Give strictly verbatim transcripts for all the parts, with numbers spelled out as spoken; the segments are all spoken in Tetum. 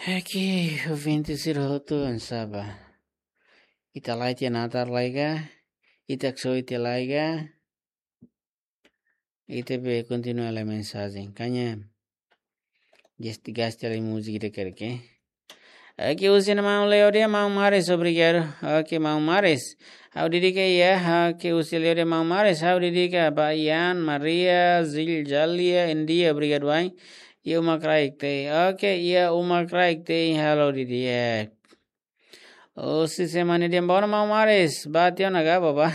Oke, ouvinte sira hotu, oinsá ba? Ita la'o tiha natar lai ka? Ita haksoit tiha lai ka? Ita be kontinua lai mensajen. Kaña, gasti, gasti lai múzika ida karik, eh? Oke, husi maun Leo dehan, maun Maris, obrigadu. Oke, maun Maris. Ha'u dedika iha, oke, husi Leo dehan, maun Maris, ha'u dedika ba Ian, Maria, Zil, Jalia, India, obrigadu, ai. Iha uma kraik tei. Oke, iha uma kraik tei, halo didi'ak. Husi semana dehan, bom, maun Maris, ba tiha ona ka, bá bá.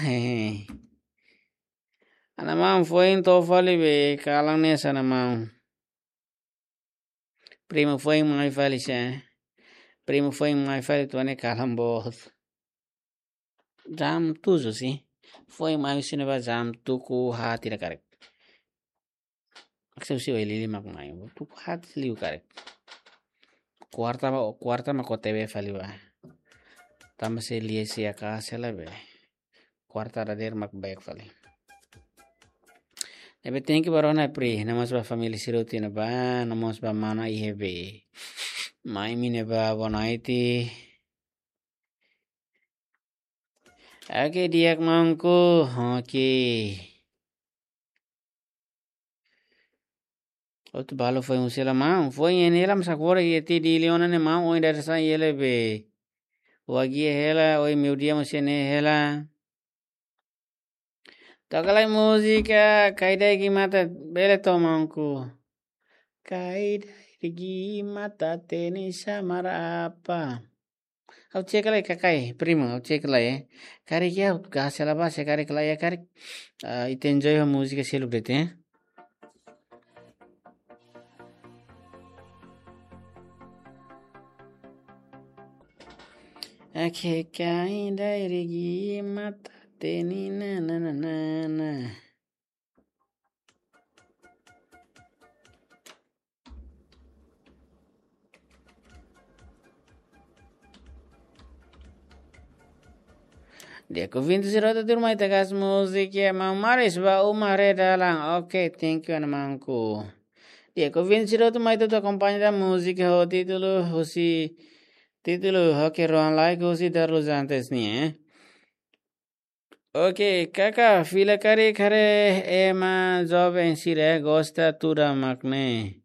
Ana maun, foin to'o fali be, kalan ne'e sa, ana maun. Primu foin mai fali sa. Primu foin mai fali, tuan ne'e kalan boot. Jam tujuh sih. Foin mai husi ne'ebá jam tuku haat ida karik. Akse husi oilili mak mai. Tuku haat liu karik. Kuarta ba, kuarta mak O T B fali ba. Tanba se lia se aka sela be. Kuarta dadeer mak baik fali. Ne'ebé thank you ba rona pri, no mós ba família sira hotu iha ne'ebá, no mós ba mana iha be. Mai mi ne'ebá, boa noite. Oke, di'ak maunku. Oke. Hotu balu foin husi hela maun. Foin iha ne'e hela, mas agora iha tiha Dili ona ne'e maun, ohin dadeer-saan iha hela be. Wagi hela, ohin meiudia mós iha ne'e hela. Toka lai múzika, Kaidai Gimata, bele to'o maunku. Kaidai Gimata, teni samar apa? Ha'u cek lai karik, primu, ha'u cek lai, eh. Karik ya, ha'u gasta hela ba, se karik lai ya, karik. Ah, ita enjoy ho múzika seluk de'it, eh. Oke, Kaidai Gimata, teni na na na na na. Di'ak, ouvinte sira hotu, tuirmai ita gasta múzika, maun Maris ba uma re dalan. Oke, thank you, ana maunku. Di'ak, ouvinte sira hotu, mai ita akompaña ita múzika ho títulu husi, títulu, oke, Rohan Laik husi Darlus Antes nian, eh. Oke, kaka, fila karik haree ema joven sira gosta tuda mak ne'e.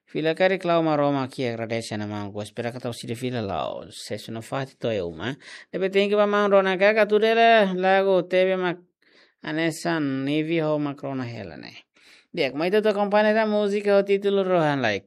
Fila karik la'o Maromak, ha'u agradese, ana maun, espera katak sira fila la'o. Sesu nafatin to'o iha uma. Ne'ebé thank you ba maun rona, kaka, tuda hela lagu T V mak hanesan Nivi ho mak rona hela ne'e. Di'ak, mai ita akompaña ita múzika ho títulu Rohan Laik.